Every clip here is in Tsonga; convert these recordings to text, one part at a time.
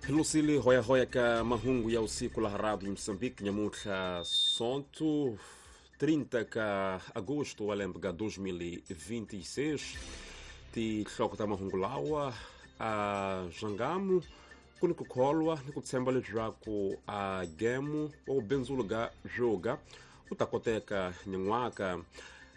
Lucili hoyahoya ka mahungu ya usiku la Radio Moçambique nyamuntlha sonto 30 ka agosto wa lembe ka 2026. Tinhloko ta mahungu lawa a zwangamu ku ni ku kholwa ni ku tshemba leswaku a gemu wa vubindzulu ga byoga u ta koteka nyan'waka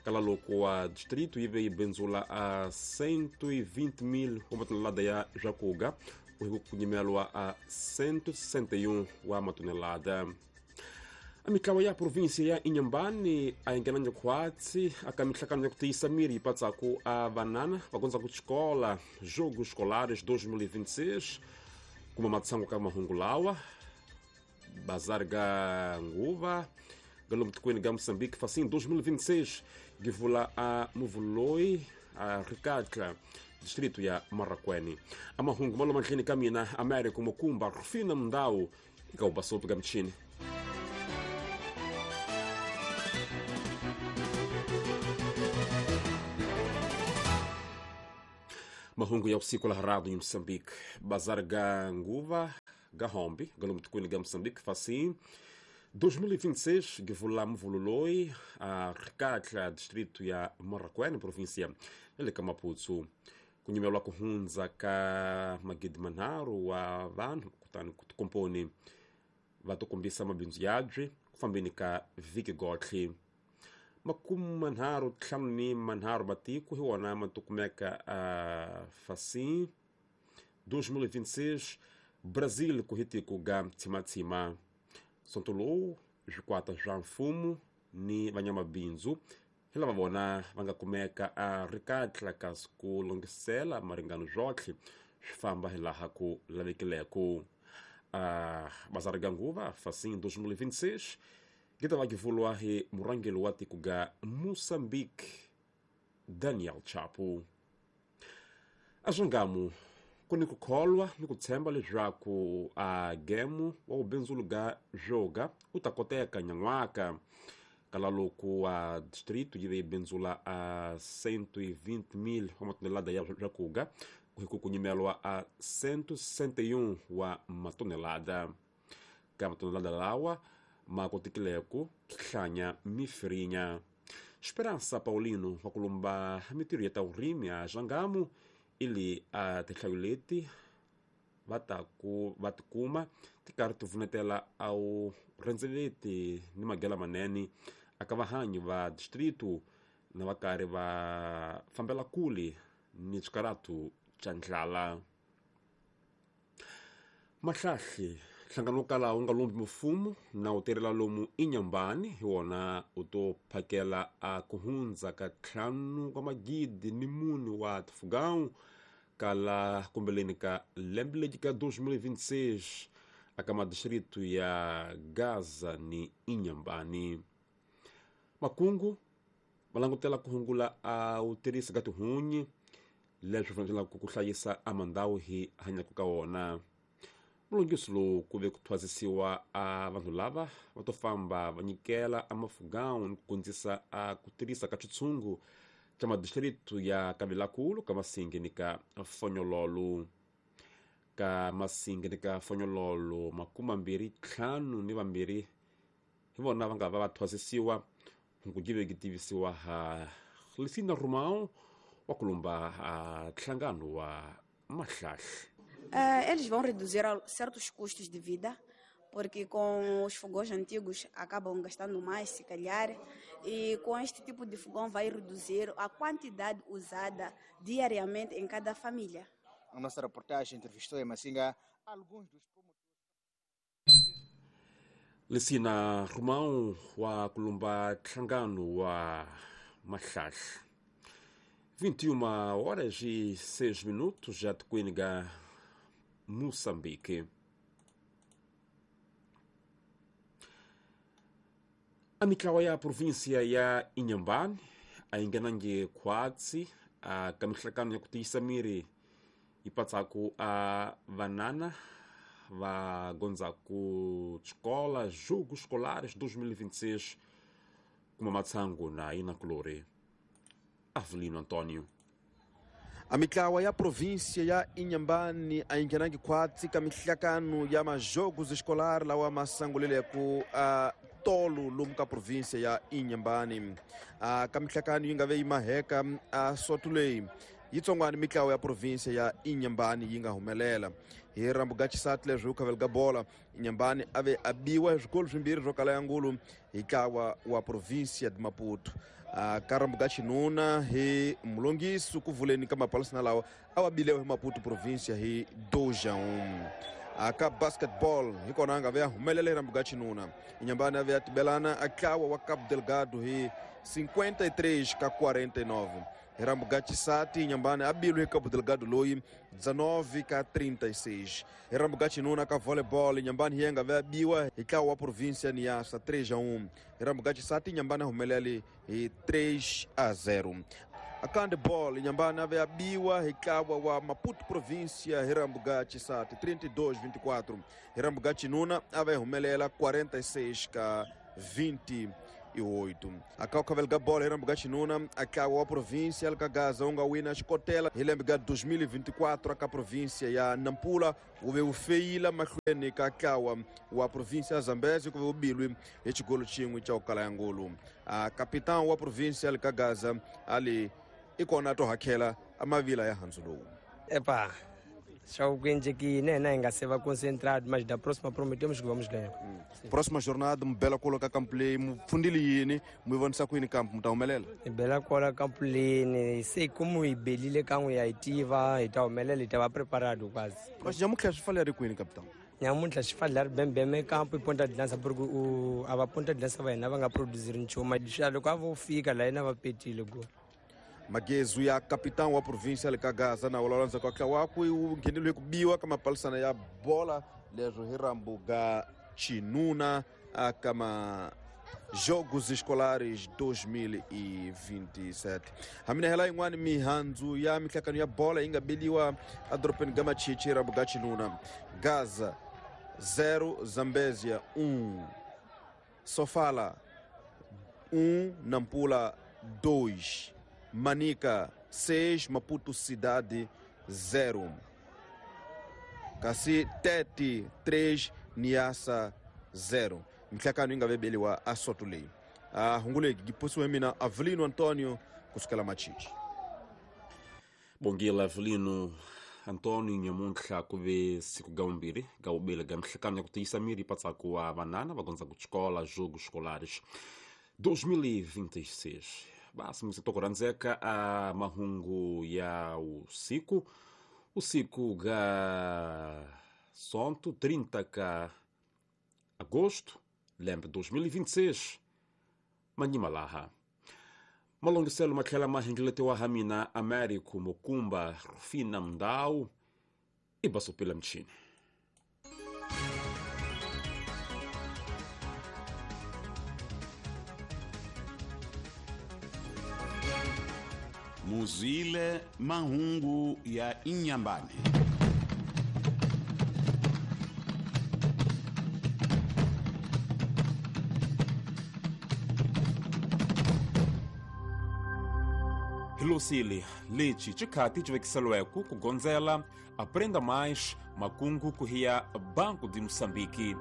kala loko wa distrito yi ve yi bindzula a 120 000 wa matonelada ya swakuga ku kunyimelwa a 161 wa matonelada. A mitlawa ya província ya Inhambane a yi nghenanga khwatsi aka mihlangano ya ku tiyisa miri yi patsaku a vanana va gondzaku xikola Jogos Escolares 2026. Kuma matshango ka mahungu lawa bazar ga nguva ga lomu tikweni ga Moçambique facim 2026 givula a muvuloi a Ricatla, distrito ya Marracuene. A mahungu malo mandleni ka mina Américo Mukumba Rufina Mundau eka ubasopi ka michini. Mahungu ya usiku la Radio Moçambique. Bazar ga nguva ga hombi ga lomu tikweni ga Moçambique facim 2026 givula muvululoi a Ricatla, distrito ya Marracuene, província ya ka Maputo. Ku nyimelwa ku hundza ka magidi manharhu wa vanhu kutani ku tikomponi va to kombisa mabindzu yabyi ku fambeni ka vhiki gotlhe. 35 matiko hi wona ma to kumeka a facim 2026 Brazil ku hi tiko ga tsimatsima. Sonto lowu swikwata swa mfumo ni vanyamabindzu hi lava vona va nga kumeka a Ricatla kasi ku longisela maringano swotlhe swi famba hi laha ku lavekileko. A bazari ga nguva facim 2026 gi ta va givulwa hi murhangeri wa tiko ga Moçambique Daniel Chapo. A swangamu ku ni ku kholwa ni ku tshemba leswaku a gemu wa vubindzulu ga byoga u ta koteka nyan'waka kala loko a distrito yi ve yi bindzula a 120 000 wa matonelada ya swakuga ku hi ku kunyimelwa a 161 wa matonelada. Ka matonelada lawa ma kotekileko hlanya mifirinya. Esperança Paulino wa ku lumba mitirho ya ta vurimi a Zwangamu ili a tinhlayo leti va ta ku va tikuma ti karhi ti vunetela a wu rhendzeleti ni magela manene aka vahanyi va distrito na va karhi va fambela kule ni swikaratu swa ndlala. Mahlahli nhlangano wo kala wu nga lombi mfumo na wu tirhela lomu Inhambane hi wona u to phakela a ku hundza ka 4,4 wa tifugão kala kumbeleni ka lembe legi ka 2026 aka madistrito ya Gaza ni Inhambane. Makungu va langutela ku hungula a wu tirhisa ka tihunyi leswi fanelaka ku hlayisa a mandhawu hi hanyaka ka wona. Mulungisi lowu ku ve ku thwasisiwa a vanhu lava va to famba va nyikela a mafugão ni ku kondzisa a ku tirhisa ka xitshungu xa madistrito ya Kavilakulu ka Masingi ni ka Fonyololo. Ka Masingi ni ka Fonyololo 25 hi vona va nga va va thwasisiwa ku give ki tivisiwa ha Lisina Romão wa ku lumba a nhlangano wa Mahlahla. Eles vão reduzir certos custos de vida, porque com os fogões antigos acabam gastando mais, se calhar, e com este tipo de fogão vai reduzir a quantidade usada diariamente em cada família. A nossa reportagem entrevistou em Massinga alguns dos promotores. Lisina Romão wa kulumba nhlangano wa Mahlahla. 21:06 já tikweni ga Moçambique. A mitlawa ya província ya Inhambane a yi nghenangi khwatsi a ka mihlangano ya ku tiyisa miri yi patsaku a vanana va gondzaku xikola Jogos Escolares 2026 kuma matshangu na inakulori Avelino Antônio. A mitlawa ya província ya Inhambane a yi nghenangi khwatsi ka mihlakano ya majogos escolar lawa ma sanguleleko a tolo lomu ka província ya Inhambane. A ka mihlakano yi nga ve yi maheka a soto leyi yitsongwana mitlawa ya província ya Inhambane yi nga humelela hi rambuga xisati leswi u khavela ka bola Inhambane a ve a biwa hi swikolo swimbirhi swo kala ya ngulu hi ntlawa wa província de Maputo. Ka rambuga xinuna hi mulongisi ku vuleni ka mapalisana lawa a wa bilewa hi Maputo província hi 2-1. Ka basketball hi kona a nga ve a humelela hi rambuga xinuna Inhambane a ve a tibelana a ntlawa wa Cabo Delgado hi 53-49. Hi rambuga xisati Inhambane a bilwe hi Cabo Delgado loyi 19-36. Hi rambuga xinuna ka volleyball Inhambane hi nga ve a biwa hi ntlawa wa província Niassa 3-1. Hi rambuga xisati Inhambane a humelele hi 3-0. A handball Inhambane a ve a biwa hi ntlawa wa Maputo província hi rambuga xisati 32-24. Hi rambuga xinuna a ve humelela 46-28. A ka khavela bola hi rambuga xinuna a ntlawa wa província ka Gaza wu nga wina xikotela hi lembe ka 2024 ka província ya Nampula wu ve wu feyila mahlweni ka ntlawa wa província ya Zambezi ku ve wu bilwi hi xigolo xin'we xa ku kala ya ngulu. A capitão wa província ka Gaza ali i kona to hakhela a mavila ya handzu lowu. Epa, só o que aqui, né, ainda se vai concentrado, mas da próxima prometemos que vamos ganhar. Próxima jornada, bela coloca campo lei, fundile yini, muivonisa kwini campo mutaumelela. Bela cola campo lei, sei como ibelile kangu ya itiva, itaumelela itava preparado quase. Mas já mutlha xifale ri kwini capitão? Nyamuntlha xifale ri bembeme campo e ponta de lança porque o a ponta de lança vai na vanga produzir nchuma, loko a vo fika la ina va petile go. Magezu ya capitão wa província ka Gaza na ulalanza kwa ntlawa u ngheneliwe ku biwa ka mapalisana ya bola leswo hi rambuga xinuna ka ma Jogos Escolares 2027. Hamina hela yin'wani mihandzu ya mihlakano ya bola yi nga beliwa edorobeni ga Machichi hi rambuga xinuna. Gaza 0 Zambezia 1, Sofala 1, Nampula 2, Manica 6, Maputo Cidade 0. Kasi Tete 3, Niassa 0. Mihlakano yi nga vebeliwa a soto leyi. A hunguleki giposiwe mina Avelino Antônio kusukela Machichi. Bongila Avelino Antônio nyamuntlha ku ve siku ga vumbirhi ga vubili ga mihlakano ya ku tiyisa miri patsaku wa vanana va gondza ku xikola Jogos Escolares 2026. Basi msito kuranzeka a mahungu ya usiku usiku ga sonto 30 ka agosto lembe 2026 manyimalaha malongiselo matlhela mahengeletiwa ha mina Américo Mokumba Rufina Mndau ibasopela mchini. Muzile mahungu ya Inhambane. Hilosile lechi chikhati chivekiselweku kugondzela aprenda mais makungu kuhiya Banco de Moçambique.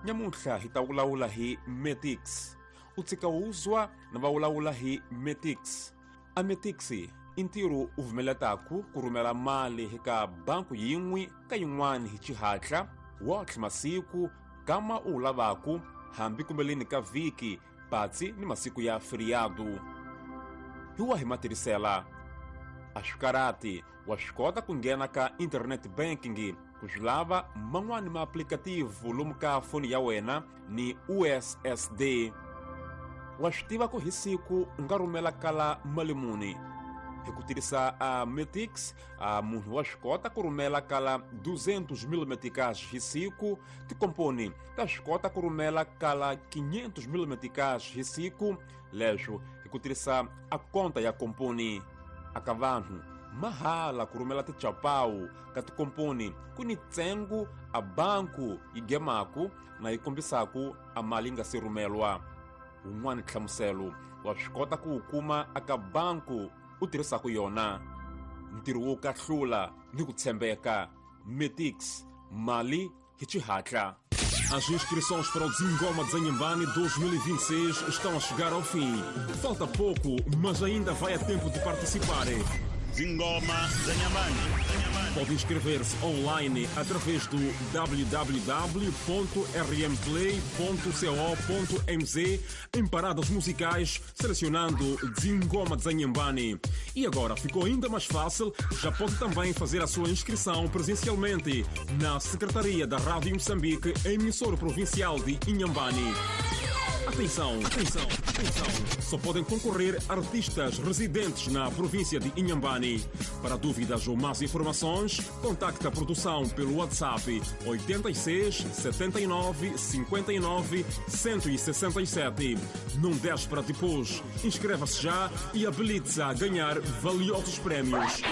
Nyamuntlha hi ta vulavula hi Metix. U tshika wuzwa na va vulavula hi Metix. A Metix i ntirho u vumeletaku ku rhumela mali eka banku yin'we ka yin'wana hi xihatla wotlhe masiku kama u lavaku hambi kumbeleni ka vhiki patsi ni masiku ya feriado. Hi wa hi matirhisela a swikarati wa swi kota ku nghena ka internet banking ku swi lava man'wani maaplikativu lomu ka foni ya wena ni USSD. Wa swi tiva ku hi siku u nga rhumela kala mali muni hi ku tirhisa a Metix. A munhu wa swi kota ku rhumela kala 200,000 meticais hi siku. Tikomponi ta swi kota ku rhumela kala 500,000 meticais hi siku leswo hi ku tirhisa a konta ya komponi. Aka vanhu mahala ku rhumela tichapawu ka tikomponi ku ni ntsengo a banku yi gemaku na yi kombisaku a mali yi nga se rhumelwa. Wun'wani nhlamuselo wa swi kota ku wu kuma aka banku u tirhisaku yona. Ntirho wo kahlula ni ku tshembeka. Metix, mali hi xihatla. As inscrições para o Zingoma de Inhambane 2026 estão a chegar ao fim. Falta pouco, mas ainda vai a tempo de participar. Zingoma za Inhambane. Pode inscrever-se online através do www.rmplay.co.mz em paradas musicais, selecionando Zingoma de Inhambane. E agora ficou ainda mais fácil, já pode também fazer a sua inscrição presencialmente na Secretaria da Rádio Moçambique, emissora provincial de Inhambane. Atenção, atenção, atenção! Só podem concorrer artistas residentes na província de Inhambane. Para dúvidas ou mais informações, contacte a produção pelo WhatsApp 86 79 59 167. Não deixe para depois. Inscreva-se já e habilite-se a ganhar valiosos prémios.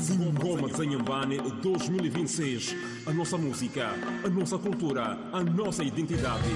Zingoma de Inhambane 2026. A nossa música, a nossa cultura, a nossa identidade.